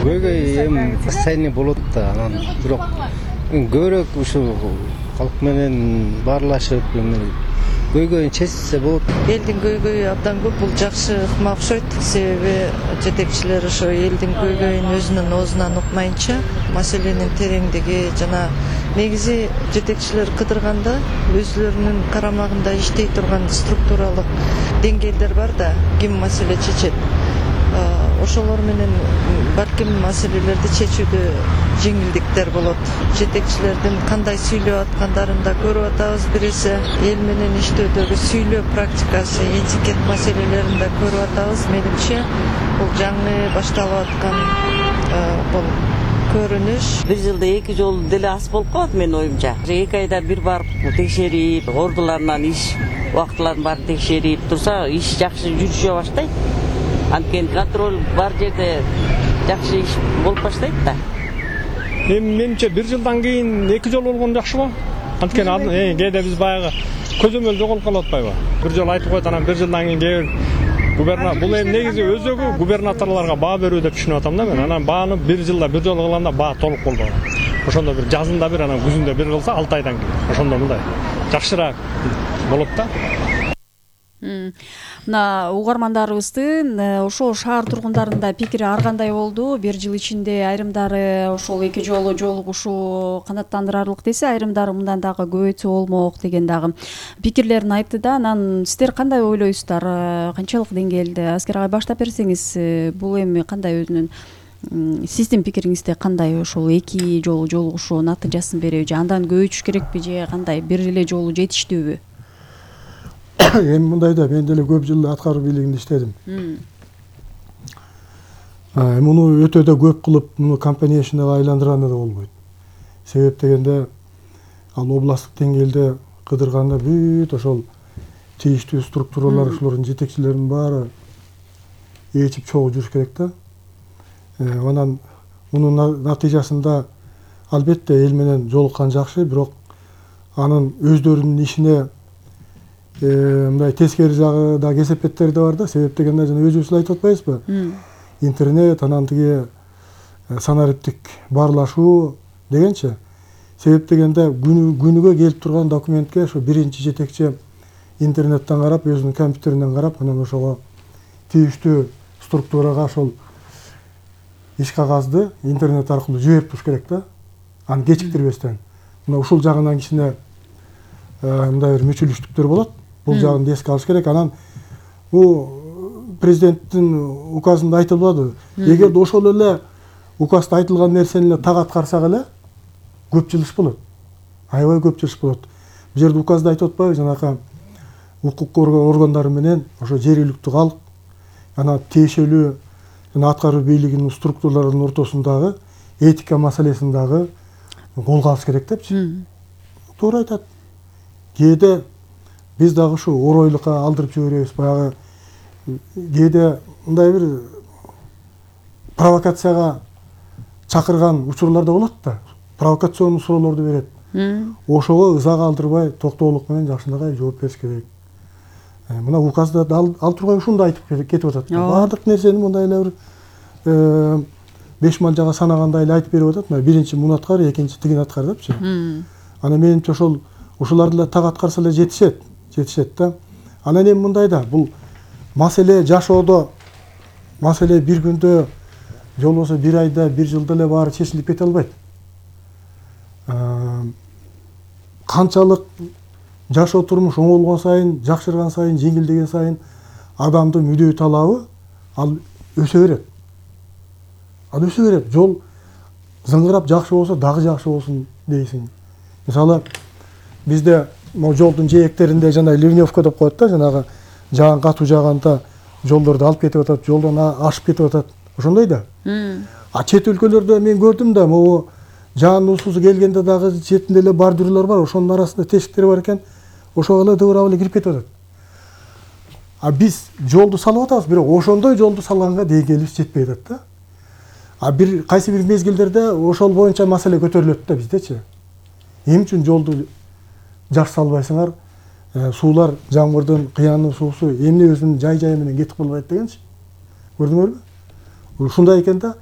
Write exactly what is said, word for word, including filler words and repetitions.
көйгөй эми постоянный болот да, анан бирок көбүрөөк ушу калк менен баарлашып көйгөйүн чечсе болот. Элдин көйгөйү абдан көп, бул жакшы ыкма окшойт. Себеби жетекчилер ошо элдин көйгөйүн өзүнүн оозунан укмайынча, маселенин тереңдиги жана негизи жетекчилер кыдырганда өзүлөрүнүн карамагында иштей турган структуралык деңгээлдер бар да, ким маселе чечет. Ошолор менен балким маселелерди чечүүдө жеңилдиктер болот. Жетекчилердин кандай сүйлөп аткандарын да көрүп атабыз. Биресе эл менен иштөөдөгү сүйлөө практикасы, этикет маселелерин да көрүп атабыз. Менимче бул жаңы башталып аткан бул көрүнүш. Бир жылда эки жолу деле аз болуп калат менин оюмча. Эки айда бир барып текшерип, ордуларынан иш убактыларын баарын текшерип турса, иш жакшы жүрүшө баштайт. Анткени контроль бар жерде жакшы иш болуп баштайт да. Эми менимче бир жылдан кийин эки жолу болгон жакшыбы? Анткени кээде биз баягы көзөмөл жоголуп калып атпайбы? Бир жолу айтып коет, анан бир жылдан кийин кээ бир губернатор, бул эми негизи өзөгү губернаторлорго баа берүү деп түшүнүп атам да мен. Анан бааны бир жылда бир жолу кылганда баа толук болбогон. Ошондо бир жазында бир, анан күзүндө бир кылса алты айдан кийин. Ошондо мындай жакшыраак болот да. Мына угармандарыбыздын ошол шаар тургундарында пикири ар кандай болду? Бир жыл ичинде айрымдары ошол эки жолу жолугушуу канааттандырарлык десе, айрымдары мындан дагы көбөйтсө болмок деген дагы пикирлерин айтты да. Анан сиздер кандай ойлойсуздар? Канчалык деңгээлде? Аскер агай, баштап берсеңиз, бул эми кандай өзүнүн сиздин пикириңизде кандай? Ошол эки жолу жолугушуу натыйжасын береби же андан көбөйтүш керекпи же кандай? Бир эле жолу жетиштүүбү? Эми мындай да, мен деле көп жыл аткаруу бийлигинде иштедим. Муну өтө да көп кылып, муну компанияшынага айландырганда да болбойт. Себеп дегенде, ал областтык деңгээлде кыдырганда бүт ошол тийиштүү структуралар, ошолордун жетекчилеринин баары ээчип чогуу жүрүш керек да. Анан мунун натыйжасында албетте эл менен жолуккан жакшы, бирок анын өздөрүнүн ишине мындай тескери жагы да, кесепеттери да бар да. Себеп дегенде жана өзүбүз айтып атпайбызбы? Интернет, анан тиги санариптик баарлашуу дегенчи. Себеп дегенде күнүгө келип турган документке ошо биринчи жетекчи интернеттен карап, өзүнүн компьютеринен карап, анан ошого тийиштүү структурага ошол иш кагазды интернет аркылуу жиберип туруш керек да. Аны кечиктирбестен. Мына ушул жагынан кичине мындай бир мүчүлүштүктөр болот. Бул жагын эске алыш керек. Анан бул президенттин указында айтылбады. Эгерде ошол эле указда айтылган нерсени эле так аткарсак эле көп жылыш болот. Аябай көп жылыш болот. Бул жерде указда айтып атпайбы, жанакы укук органдары менен ошо жергиликтүү калк, анан тиешелүү жана аткаруу бийлигинин структураларынын ортосундагы этика маселесин дагы колго алыш керек депчи. Туура айтат. Кээде биз дагы ушу оройлукка алдырып жиберебиз. Баягы кээде мындай бир провокацияга чакырган учурлар да болот да. Провокационный суроолорду берет. Ошого ызага алдырбай, токтоолук менен жакшынакай жооп бериш керек. Мына указда ал тургай ушунду айтып кетип атат. Баардык нерсени мындай эле бир беш малжага санагандай эле айтып берип атат. Биринчи муну аткар, экинчи тигини аткар депчи. Анан менимче ошол ушуларды эле так аткарса эле жетишет, жетишет да. Анан эми мындай да, бул маселе жашоодо, маселе бир күндө, же болбосо бир айда, бир жылда эле баары чечилип кете албайт. Канчалык жашоо турмуш оңолгон сайын, жакшырган сайын, жеңилдеген сайын адамдын мүдөө талабы ал өсө берет. Ал өсө берет. Жол зыңгырап жакшы болсо, дагы жакшы болсун дейсиң. Мисалы, бизде могу жолдун жээктеринде жана ливневка деп коет да, жанагы жаан катуу жааганда жолдорду алып кетип атат, жолдон ашып кетип атат. Ошондой да. А чет өлкөлөрдө мен көрдүм да, могу жаандын суусу келгенде дагы четинде эле бордюрлар бар, ошонун арасында тешиктер бар экен. Ошого эле дыбырап эле кирип кетип атат. А биз жолду салып атабыз, бирок ошондой жолду салганга деңгээлибиз жетпей атат да. А бир кайсы бир мезгилдерде ошол боюнча маселе көтөрүлөт да биздечи. Эмне үчүн жолду жакшы салбайсыңар? Суулар, жамгырдын, кыянын суусу эмне өзүнүн жай-жайы менен кетип калбайт дегенчи. Көрдүңөрбү? Ушундай экен да.